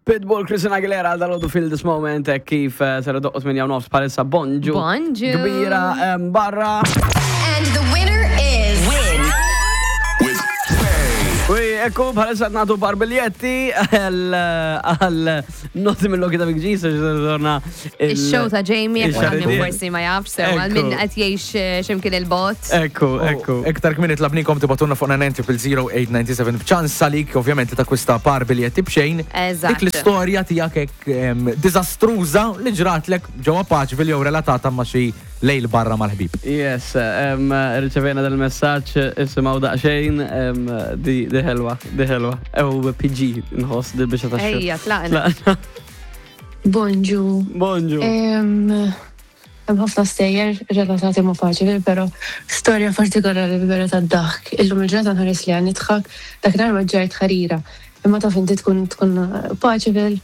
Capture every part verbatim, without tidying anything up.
Pitbull, Christina Aguilera għal dal-għodu Feel This Moment, eh, kif eh, ser doqqos minn nofs palissa. Bonġu. Bonġu. Kbira em, barra. And the winner is. Win with Ui, ekku, bħalissa nagħtu par biljetti għal noti mill-loki ta' Big G, so torna Il-show ta' Jamie, jekk il-xaridien. għal min forsi ma jafx, so għal min Ekku. qed jgħix eh, x'imkien il-bot. Ekku, ekku. Iktar kmini tlabnikom tibagħtulna fuq nine zero eight nine seven b'ċans għalik ovvjament li takkwista par biljetti b'xejn. Eżatt. Dik l-istorja tiegħek hekk em, diżastruża li ġratlek ġewwa Paceville jew relatata ma' xi lejl barra mal-ħbib. Yes, um, riċevejna dal-messaġġ, isimgħu daqsxejn, um, di, di ħelwa, di ħelwa. Ew P G nħoss di biex ta' Ejja, tlaqna. Bonġu. Bonġu. Em, Hemm ħafna stejjer relatati ma' Paceville, però storja partikolari vera tad-daħk. Illum il-ġurnata nħares li għan nidħak, dakinhar ma ġajt ħarira. Imma taf inti tkun tkun Paceville,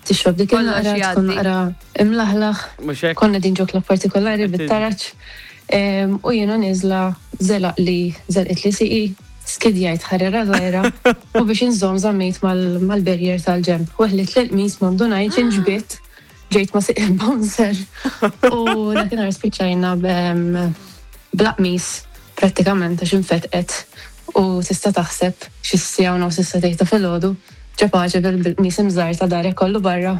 tixrob dik Kollox il-naqra, tkun jgħaddi. naqra imlaħlaħ. Mhux hekk? Konna din ġo club partikolari bit-taraċ. Em, U jiena niżla zelaq li zelqit li siqi, skidjajt ħarira żgħira u biex inżomm żammejt mal- mal-barrier tal-ġemb. Weħlit l-qmis, ma ndunajt, inġbidt, ġejt ma siq il-bouncer. U dakinhar spiċċajna b- bla qmis prattikament għax infetqet u tista' taħseb xi siegħa u nofs issa ta' filgħodu ġo Paceville bil-qmis imżar ta' darek kollu barra.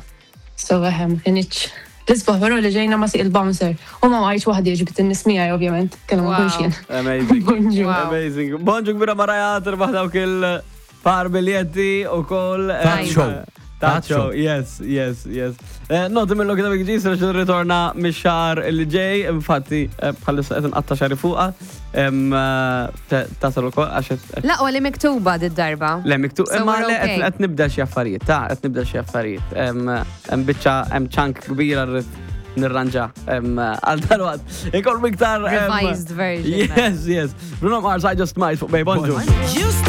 So eħem, kienx l-isbaħ, però li ġejna ma siq il-bouncer. U ma għajx waħdi, ġbit in-nies miegħi ovvjament, kellha ma Wow. nkunx jien. Amazing. Bonġu. Wow. Amazing. Bonġu kbira, Maraja, tirbaħ dawk il-par biljetti u koll. Ta' show. Ta' show, yes, yes, yes. Eh, Noti mill-loki ta' Big G, ser ritorna mix-xahar li ġej, infatti eh, bħalissa qed nqatta' xagħri fuqha, em, eh, ta- tasal ukoll għax qed- Laqwa li miktuba did-darba. Le, miktub, So imma we're le, okay. qed qed nibda xi affarijiet, ta' qed nibda xi affarijiet. Em, Hemm biċċa, hemm chunk kbira rrid nirranġa em, għal dalwaqt. Ikollu iktar em, Revised version. Yes, yes. Bruno Mars, I Just Might fuq Bay. Bonġu.